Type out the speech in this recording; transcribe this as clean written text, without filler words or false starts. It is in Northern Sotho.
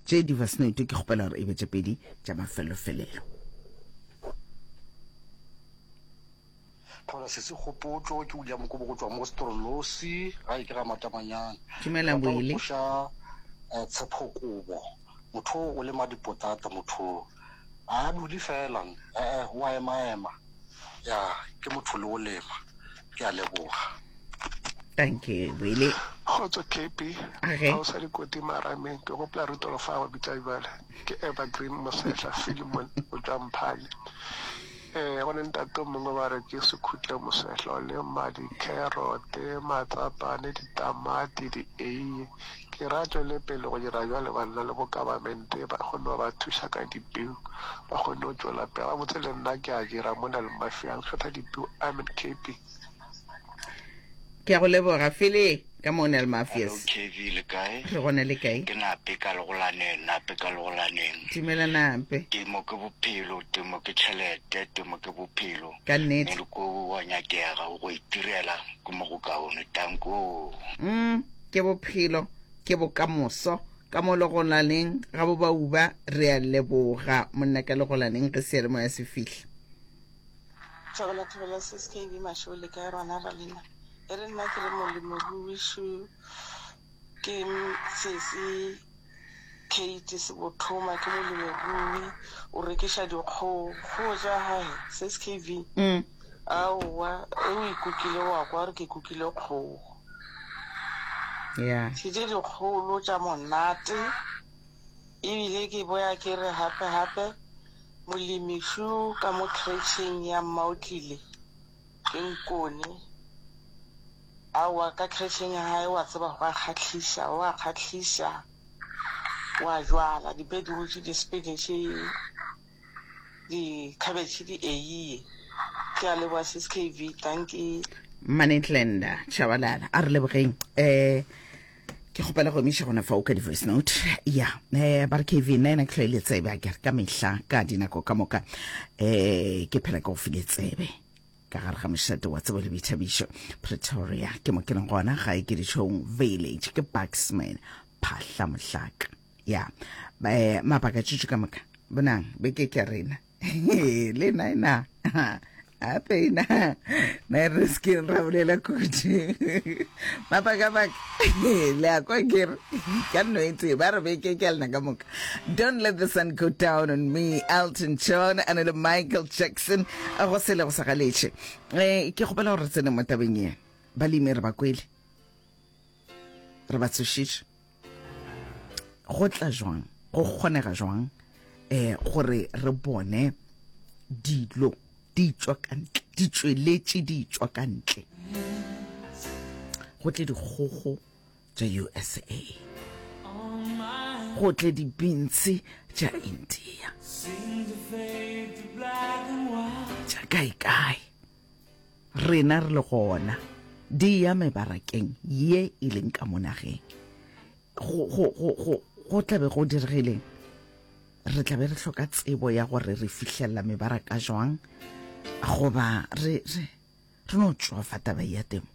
Tše di-voice note ke kgopela gore e be tše pedi tša mafelofelelo. Thola sesi Kgopotšo, ke William Kobo go tšwa mo Strolosi, gae ke ga Matamanyane. Dumela Ke rata go Willy. tloša eh, Tshepho Kobo. Motho o o lema dipotata motho o. A dule fela, eh eh, o a ema-ema. Ya, ke motho le o lema. Ke a leboga. Thank you Willy. Kgotso KB, Age. ga o sa dikoti marameng, ke gopola Rutolo fa wa bitša bjale, ke Evergreen Mosehla Philemon o tšwa Mphane. Ee, go ne ntate o mongwe ba re ke Sekhutle Mosehla o lema dikherote, matsapane, ditamati, dieiye. Ke ra tšwele pele go dira bjale banna le bo government ba kgone go ba thuša ka dipeu ba kgone go tšwela pele. Gabotse le nna ke a dira mona le Mafia ke kgetha dipeu. Amen KB. Ke a go leboga Fele ka mo Nel Hello Mafias. KV le kae? Re gona le kae? Ke Nape ka Legolaneng, Nape ka Legolaneng. Dumela Nape. Temo ke bophelo, temo ke tšhelete, temo ke bophelo. Ka nnete. Moloko wa nyakega go itirela ke mo go kaone. Danko. Mm, ke bophelo, ke bokamoso. Ka mo Legolaneng ga bo bauba re a leboga monna ka Legolaneng ge seyalemoya se fihla. Thobela thobela sis KB Mašego le kae rona ra lena e re nna ke re molemirui šo ke sesi Kate Sebothoma ke molemirui o rekiša dikgogo kgogo tša gae sis KB Mm. aowa e o ikukile wa kwa gore ke kukile kgogo Yeah. ke tše dikgolo tša monate ebile ke boya ke re gape gape Molemi šo ka mo khretšheng ya Mmaotlile ke Nkone. Aowa, ka khretšheng ya gae wa tseba go a kgahliša, o a kgahliša, wa jwala di-beetroot, di-spinach, di-cabbage, di-eiye. Ke a leboga sis KV, dankie. Mmanetlenda Tshabalala a re lebogeng eh Ke kgopela go emiša gona fao ka di-voice note ya eh ba re kv nna ena ke tlhoile tsebe a kere ka mehla ka dinako ka moka eh ke phela ke go file tsebe ka gare ga mošate wa tsebo le boithabišo pretoria ke mo ke leng gona gae ke ditšhong village ke bucksman phahla mohlaka ya eh mabaka tšutšu ka moka bonang beke ke ya rena le nna ena gape ena na re se ke ra bolela kudu mabakabaka le a kwa kere ka nno e tee ba re beke ke a lena ka moka. Don't let the sun go down on me, Elton John a le Michael Jackson go sele go sa galetše. Um ke kgopela gore re tsene mo tabeng ye balemi re ba kwele re ba tsošitše. Go tla jwang, go kgonega jwang eh gore re bone dilo di tšwa ka ntle, di tšweletše di tšwa ka ntle. Go tle dikgogo tša USA, go tle dibintshi tša India, tša kae kae. Rena re le gona, di ya mebarakeng ye e leng ka mo nageng. Go, go, go, go, go tla be go diregileng? Re tla be re hloka tsebo ya gore re fihlelela mebaraka jwang, goba re, re, re no tšwafa taba ya temo.